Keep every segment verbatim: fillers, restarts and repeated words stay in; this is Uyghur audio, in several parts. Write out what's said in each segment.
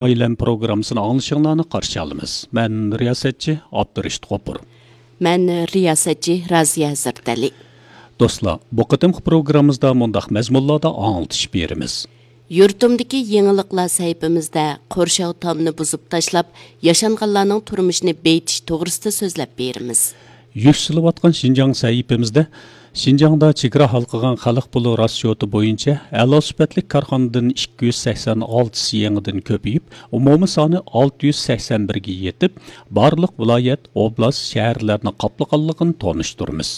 ئايلەم پروگراممىسىنى ئاڭلىشىڭلارنى قارشى ئالىمىز. مەن رىياسەتچى ئابدۇرېشىت غوپۇر. مەن رىياسەتچى رازىيە ھەزرىتەلى. دوستلار، بۇ قېتىمقى پروگراممىمىزدا مۇنداق مەزمۇنلاردا ئاڭلىتىش بېرىمىز. يۇرتۇمدىكى يېڭىلىقلار سەھىپىمىزدە قورشاۋ تامنى بۇزۇپ تاشلاپ، ياشانغانلارنىڭ تۇرمۇشىنى بېيىتىش توغرىسىدا سۆزلەپ بېرىمىز. يۈكسىلىۋاتقان شىنجاڭ سەھىپىمىزدە شىنجاڭدا چېگرا ھالقىغان خەلق پۇلى راسچوتى بويىچە ئەلا سۈپەتلىك كارخانىدىن ئىككى يۈز سەكسەن ئالتىسى يېڭىدىن كۆپىيىپ، ئومۇمىي سانى ئالتە يۈز سەكسەن بىرگە يېتىپ، بارلىق ۋىلايەت، ئوبلاست، شەھەرلەرنى قاپلىغانلىقىنى تونۇشتۇرىمىز.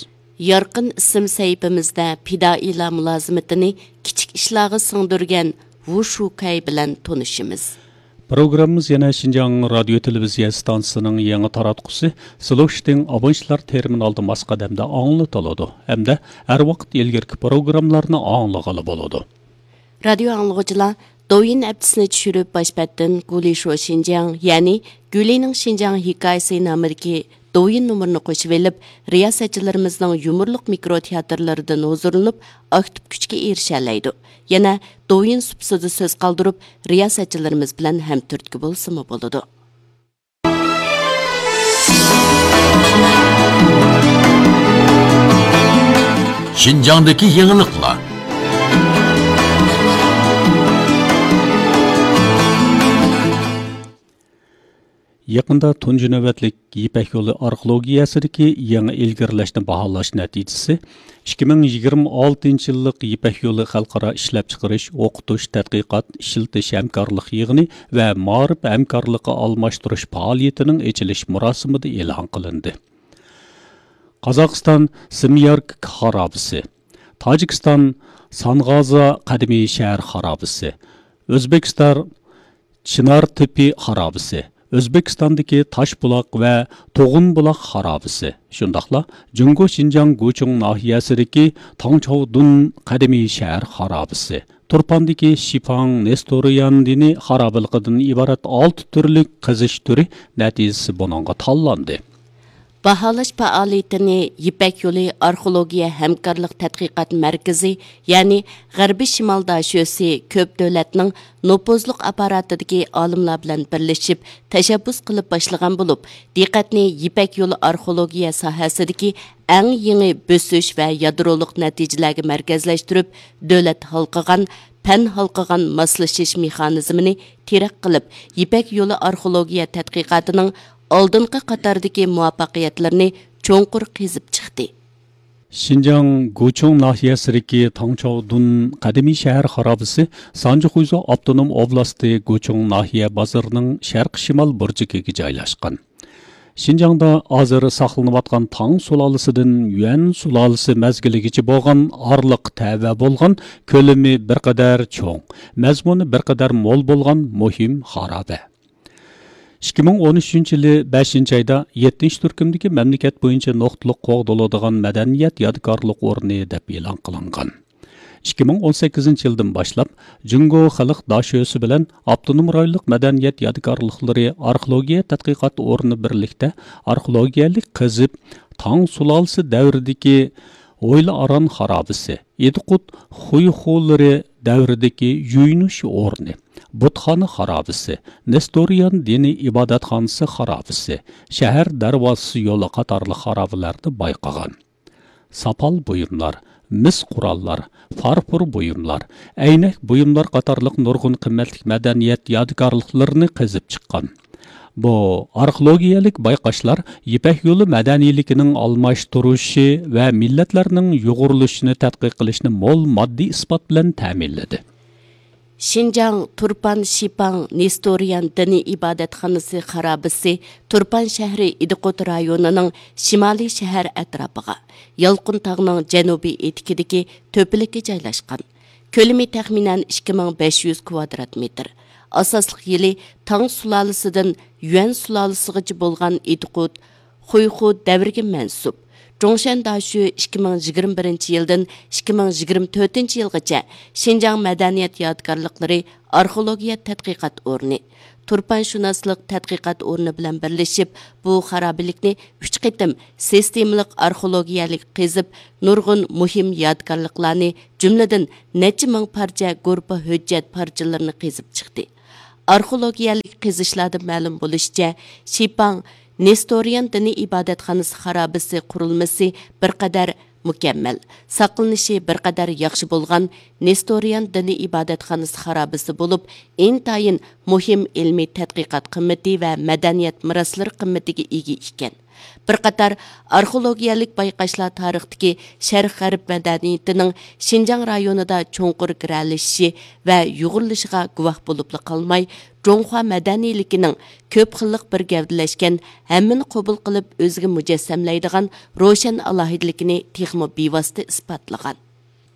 يارقىن ئىسىم سەھىپىمىزدە پىدائىيلار مۇلازىمىتىنى كىچىك ئىشلارغا سىڭدۈرگەن ۋۇ شۇكەي بىلەن تونۇشىمىز. پروگراممىمىز يەنە شىنجاڭ رادىيو تېلېۋىزىيە ئىستانسىسىنىڭ يېڭى تاراتقۇسى سىلوشتىڭ ئابونتلار تېرمىنالدا ماس قەدەمدە ئاڭلىتىلىدۇ ھەمدە ھەر ۋاقىت ئىلگىرىكى پروگراممىلارنى ئاڭلىغىلى بولىدۇ. رادىيو ئاڭلىغۇچىلار، دوۋيىن ئەپتىسىنى چۈشۈرۈپ، باش بەتتىن گۇلى شو شىنجاڭ، يەنى گۈلىنىڭ شىنجاڭ ھېكايىسى نامىدىكى دوۋيىن نومۇرىنى قوشۇۋېلىپ، رىياسەتچىلىرىمىزنىڭ يۇمۇرلۇق مىكرو تىياتىرلىرىدىن ھۇزۇرلىنىپ، ئاكتىپ كۈچكە ئېرىشەلەيدۇ. يەنە دوۋيىن سۇپىسىدا سۆز قالدۇرۇپ، رىياسەتچىلىرىمىز بىلەن ھەمتۈرتكە بولسىمۇ بولىدۇ. شىنجاڭدىكى يېڭىلىقلار. يېقىندا تۇنجى نۆۋەتلىك يىپەك يولى ئارخېئولوگىيەسىدىكى يېڭى ئىلگىرىلەشنى باھالاش نەتىجىسى، ئىككى مىڭ يىگىرمە ئالتىنچى يىللىق يىپەك يولى خەلقئارا ئىشلەپچىقىرىش، ئوقۇتۇش، تەتقىقات، ئىشلىتىش ھەمكارلىق يىغىنى ۋە مائارىپ ھەمكارلىقى ئالماشتۇرۇش پائالىيىتىنىڭ ئېچىلىش مۇراسىمىدا ئېلان قىلىندى. قازاقىستان سىميارك خارابىسى، تاجىكىستان سانغازا قەدىمىي شەھەر خارابىسى، ئۆزبېكىستان چىنار تېپى خارابىسى، ئۆزبېكىستاندىكى تاشبۇلاق ۋە توغۇنبۇلاق خارابىسى، شۇنداقلا جۇڭگو شىنجاڭ گۇچۇڭ ناھىيەسىدىكى تاڭچاۋدۇن قەدىمىي شەھەر خارابىسى، تۇرپاندىكى شىپاڭ نېستورىيان دىنى خارابىلىقىدىن ئىبارەت ئالتە تۈرلۈك قېزىش تۈرى نەتىجىسى بۇنىڭغا تاللاندى. باھالاش پائالىيىتىنى يىپەك يولى ئارخېئولوگىيە ھەمكارلىق تەتقىقات مەركىزى، يەنى غەربىي شىمال داشۆسى كۆپ دۆلەتنىڭ نوپۇزلۇق ئاپپاراتىدىكى ئالىملار بىلەن بىرلىشىپ تەشەببۇس قىلىپ باشلىغان بولۇپ، دىققەتنى يىپەك يولى ئارخېئولوگىيە ساھەسىدىكى ئەڭ يېڭى بۆسۈش ۋە يادرولۇق نەتىجىلەرگە مەركەزلەشتۈرۈپ، دۆلەت ھالقىغان، پەن ھالقىغان ماسلىشىش مېخانىزمىنى تىرەك قىلىپ، يىپەك يولى ئارخېئولوگىيە تەتقىقاتىنىڭ ئالدىنقى قاتاردىكى مۇۋەپپەقىيەتلىرىنى چوڭقۇر قېزىپ چىقتى. شىنجاڭ گۇچۇڭ ناھىيەسىدىكى تاڭچاۋدۇن قەدىمىي شەھەر خارابىسى سانجى خۇيزۇ ئاپتونوم ئوبلاستى گۇچۇڭ ناھىيە بازىرىنىڭ شەرقىي شىمال بۇرجىكىگە جايلاشقان. شىنجاڭدا ھازىر ساقلىنىۋاتقان تاڭ سۇلالىسىدىن يۈەن سۇلالىسى مەزگىلىگىچە بولغان ئارىلىق تەۋە بولغان، كۆلىمى بىر قەدەر چوڭ، مەزمۇنى بىر قەدەر مول بولغان مۇھىم خارابە. ئىككى مىڭ ئون ئۈچىنچى يىلى بەشىنچى ئايدا يەتتىنچى تۈركۈمدىكى مەملىكەت بويىچە نۇقتىلىق قوغدىلىدىغان مەدەنىيەت يادىكارلىق ئورنى دەپ ئېلان قىلىنغان. ئىككى مىڭ ئون سەككىزىنچى يىلدىن باشلاپ، جۇڭگو خەلق داشۆسى بىلەن ئاپتونوم رايونلۇق مەدەنىيەت يادىكارلىقلىرى ئارخېئولوگىيە تەتقىقات ئورنى بىرلىكتە ئارخېئولوگىيەلىك قېزىپ، تاڭ سۇلالىسى دەۋرىدىكى ھويلا ئاران خارابىسى، ئىدىقۇت خۇيخۇلىرى دەۋرىدىكى يۇيۇنۇش ئورنى، بۇتخانا خارابىسى، نېستورىيان دىنىي ئىبادەتخانىسى خارابىسى، شەھەر دەرۋازىسى يولى قاتارلىق خارابىلەرنى بايقىغان. ساپال بۇيۇملار، مىس قوراللار، فارفور بۇيۇملار، ئەينەك بۇيۇملار قاتارلىق نۇرغۇن قىممەتلىك مەدەنىيەت يادىكارلىقلىرىنى قېزىپ چىققان. بۇ ئارخېئولوگىيەلىك بايقاشلار يىپەك يولى مەدەنىيلىكىنىڭ ئالماشتۇرۇشى ۋە مىللەتلەرنىڭ يۇغۇرۇلۇشىنى تەتقىق قىلىشنى مول ماددىي ئىسپات بىلەن تەمىنلىدى. شىنجاڭ تۇرپان شىپاڭ نېستورىيان دىنىي ئىبادەتخانىسى خارابىسى تۇرپان شەھىرى ئىدىقۇت رايونىنىڭ شىمالىي شەھەر ئەتراپىغا، يالقۇن تاغنىڭ جەنۇبىي ئېتىكىدىكى تۆپىلىككە جايلاشقان. كۆلىمى تەخمىنەن ئىككى مىڭ بەش يۈز كۋادرات مېتىر. ئاساسلىق يىلى تاڭ سۇلالىسىدىن يۈەن سۇلالىسىغىچە بولغان ئىدىقۇت، خۇيخۇ دەۋرىگە مەنسۇپ. جۇڭشەن داشۆ ئىككى مىڭ يىگىرمە بىرىنچى يىلدىن ئىككى مىڭ يىگىرمە تۆتىنچى يىلغىچە شىنجاڭ مەدەنىيەت يادىكارلىقلىرى ئارخېئولوگىيە تەتقىقات ئورنى، تۇرپانشۇناسلىق تەتقىقات ئورنى بىلەن بىرلىشىپ، بۇ خارابىلىكنى ئۈچ قېتىم سىستېمىلىق ئارخېئولوگىيەلىك قېزىپ، نۇرغۇن مۇھىم يادىكارلىقلارنى، جۈملىدىن نەچچە مىڭ پارچە گۇرپا ھۆججەت پارچىلىرىنى قېزىپ چىقتى. ئارخېئولوگىيەلىك قېزىشلاردىن مەلۇم بولۇشىچە، شىپاڭ نېستورىيان دىنىي ئىبادەتخانىسى خارابىسى قۇرۇلمىسى بىر قەدەر مۇكەممەل، ساقلىنىشى بىر قەدەر ياخشى بولغان نېستورىيان دىنىي ئىبادەتخانىسى خارابىسى بولۇپ، ئىنتايىن مۇھىم ئىلمىي تەتقىقات قىممىتى ۋە مەدەنىيەت مىراسلىرى قىممىتىگە ئىگە ئىكەن. بىر قاتار ئارخېئولوگىيەلىك بايقاشلار تارىختىكى شەرق غەرب مەدەنىيىتىنىڭ شىنجاڭ رايونىدا چوڭقۇر گىرەلىشىشى ۋە يۇغۇرۇلۇشىغا گۇۋاھ بولۇپلا قالماي، جۇڭخۇا مەدەنىيلىكىنىڭ كۆپ خىللىق بىر گەۋدىلەشكەن، ھەممىنى قوبۇل قىلىپ ئۆزىگە مۇجەسسەملەيدىغان روشەن ئالاھىدىلىكىنى تېخىمۇ بىۋاسىتە ئىسپاتلىغان.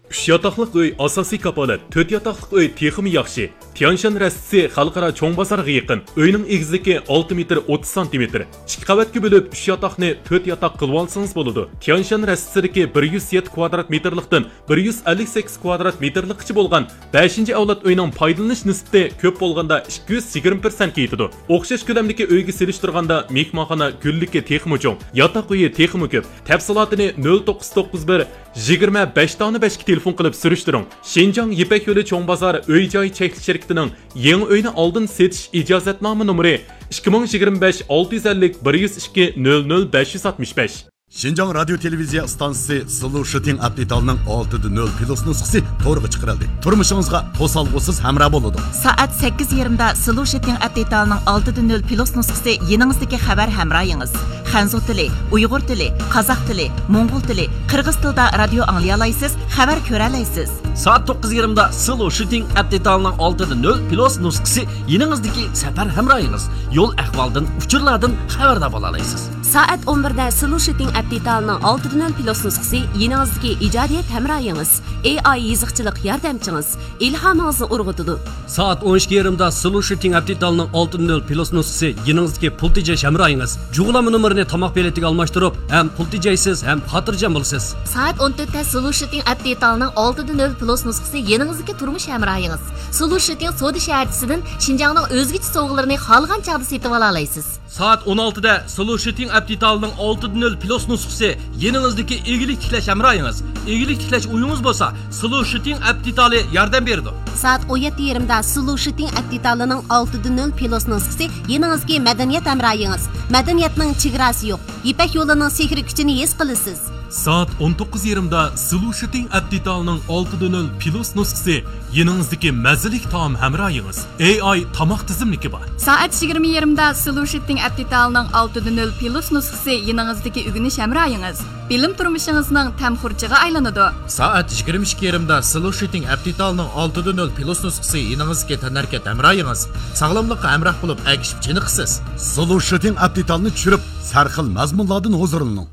ئۈچ ياتاقلىق ئۆي ئاساسىي كاپالەت، تۆت ياتاقلىق ئۆي تېخىمۇ ياخشى. تيانشان رەستىسى خەلقئارا چوڭ بازارغا يېقىن. ئۆينىڭ ئېگىزلىكى ئالتە مېتىر ئوتتۇز سانتىمېتىر. ئىككى قەۋەتكە بۆلۈپ، ئۈچ ياتاقنى تۆت ياتاق قىلىۋالسىڭىز بولىدۇ. تيانشان رەستىسىدىكى بىر يۈز يەتتە كۋادرات مېتىرلىقتىن بىر يۈز ئەللىك سەككىز كۋادرات مېتىرلىققىچە بولغان بەشىنچى ئەۋلاد ئۆينىڭ پايدىلىنىش نىسبىتى كۆپ بولغاندا ئىككى يۈز يىگىرمە پىرسەنتكە يېتىدۇ. ئوخشاش كۆلەمدىكى ئۆيگە سېلىشتۇرغاندا مېھمانخانا گۈللۈكى تېخىمۇ چوڭ، ياتاق ئۆيى تېخىمۇ كۆپ. تەپسىلاتىنى نۆل توققۇز توققۇز بىر، يىگىرمە بەش دانە بەشكە تېلېفون قىلىپ سۈرۈشتۈرۈڭ. شىنجاڭ يىپەك يولى چوڭ بازار ئۆي جاي چەكلىك شىركىتىنىڭ يېڭى ئۆينى ئالدىن سېتىش ئىجازەتنامە نومۇرى ئىككى مىڭ يىگىرمە بەش ئالتە يۈز ئەللىك بىر يۈز ئىككى نۆل نۆل بەش يۈز ئاتمىش بەش. شىنجاڭ رادىيو تېلېۋىزىيە ئىستانسىسى سلو شىتىڭ ئەپ دېتالىنىڭ ئالتىدە نۆل پلۇس نۇسخىسى تورغا چىقىرىلدى. تۇرمۇشىڭىزغا توسالغۇسىز ھەمراھ بولىدۇ. سائەت سەككىز يېرىمدا سلو شىتىڭ ئەپ دېتالىنىڭ ئالتىدە نۆل پلۇس نۇسخىسى يېنىڭىزدىكى خەۋەر ھەمراھىڭىز. خەنزۇ تىلى، ئۇيغۇر تىلى، قازاق تىلى، موڭغۇل تىلى، قىرغىز تىلىدا رادىيو ئاڭلىيالايسىز، خەۋەر كۆرەلەيسىز. سائەت توققۇز يېرىمدا سلو شىتىڭ ئەپ دېتالىنىڭ ئالتىدە نۆل پلۇس نۇسخىسى يېنىڭىزدىكى سەپەر ھەمراھىڭىز. يول ئەھۋالدىن، ئۇچۇرلاردىن خەۋەردار بولالايسىز. سائەت ئون بىردە سلۇ شىتىڭ ئەپ دېتالىنىڭ ئالتىدە نۆل پلۇس نۇسخىسى يېنىڭىزدىكى ئىجادىيەت ھەمراھىڭىز، ئېي ئاي يېزىقچىلىق ياردەمچىڭىز، ئىلھامىڭىزنى ئۇرغۇتىدۇ. سائەت ئون ئىككى يېرىمدا سلۇ شىتىڭ ئەپ دېتالىنىڭ ئالتىدە نۆل پلۇس نۇسخىسى يېنىڭىزدىكى پۇل تېجەش ھەمراھىڭىز. جۇغلانما نومۇرىنى تاماق بېلىتىگە ئالماشتۇرۇپ، ھەم پۇل تېجەيسىز، ھەم خاتىرجەم بولىسىز. سائەت ئون تۆتتە سلۇ شىتىڭ ئەپ دېتالىنىڭ ئالتىدە نۆل پلۇس نۇسخىسى يېنىڭىزدىكى تۇرمۇش ھەمراھىڭىز. سلۇ شىتىڭ سودا شەھەرچىسىدىن شىنجاڭنىڭ ئۆزگىچە سوۋغىلىرىنى خالىغان چاغدا سېتىۋالالايسىز. سائەت ئون ئالتىدە سلۇ شىتىڭ ئەپ دېتالىنىڭ ئالتىدە نۆل پلۇس نۇسخىسى يېنىڭىزدىكى ئىگىلىك تىكلەش ھەمراھىڭىز. ئىگىلىك تىكلەش ئويىڭىز بولسا، سلۇ شىتىڭ ئەپ دېتالى ياردەم بېرىدۇ. سائەت ئون يەتتە يېرىمدا سلۇ شىتىڭ ئەپ دېتالىنىڭ ئالتىدە نۆل پلۇس نۇسخىسى يېنىڭىزدىكى مەدەنىيەت ھەمراھىڭىز. مەدەنىيەتنىڭ چېگراسى يوق. يىپەك يولىنىڭ سېھرىي كۈچىنى ھېس قىلىسىز. سائەت ئون توققۇز يېرىمدا سلۇ شىتىڭ ئەپ دېتالىنىڭ ئالتىدە نۆل پلۇس نۇسخىسى يېنىڭىزدىكى مەززىلىك تائام ھەمراھىڭىز. ئېي ئاي تاماق تىزىملىكى بار. سائەت يىگىرمە يېرىمدا سلۇ شىتىڭ ئەپ دېتالىنىڭ ئالتىدە نۆل پلۇس نۇسخىسى يېنىڭىزدىكى ئۆگىنىش ھەمراھىڭىز. بىلىم تۇرمۇشىڭىزنىڭ تەم خۇرجىنى ئايلىنىدۇ. سائەت يىگىرمە ئىككى يېرىمدا سلۇ شىتىڭ ئەپ دېتالىنىڭ ئالتىدە نۆل پلۇس نۇسخىسى يېنىڭىزدىكى تەنھەرىكەت ھەمراھىڭىز. ساغلاملىققا ھەمراھ بولۇپ ئەگىشىپ چېنىقىسىز. سلۇ شىتىڭ ئەپ دېتالىنى چۈشۈرۈپ، سەرخىل مەزمۇنلاردىن ھۇزۇرلىنىڭ.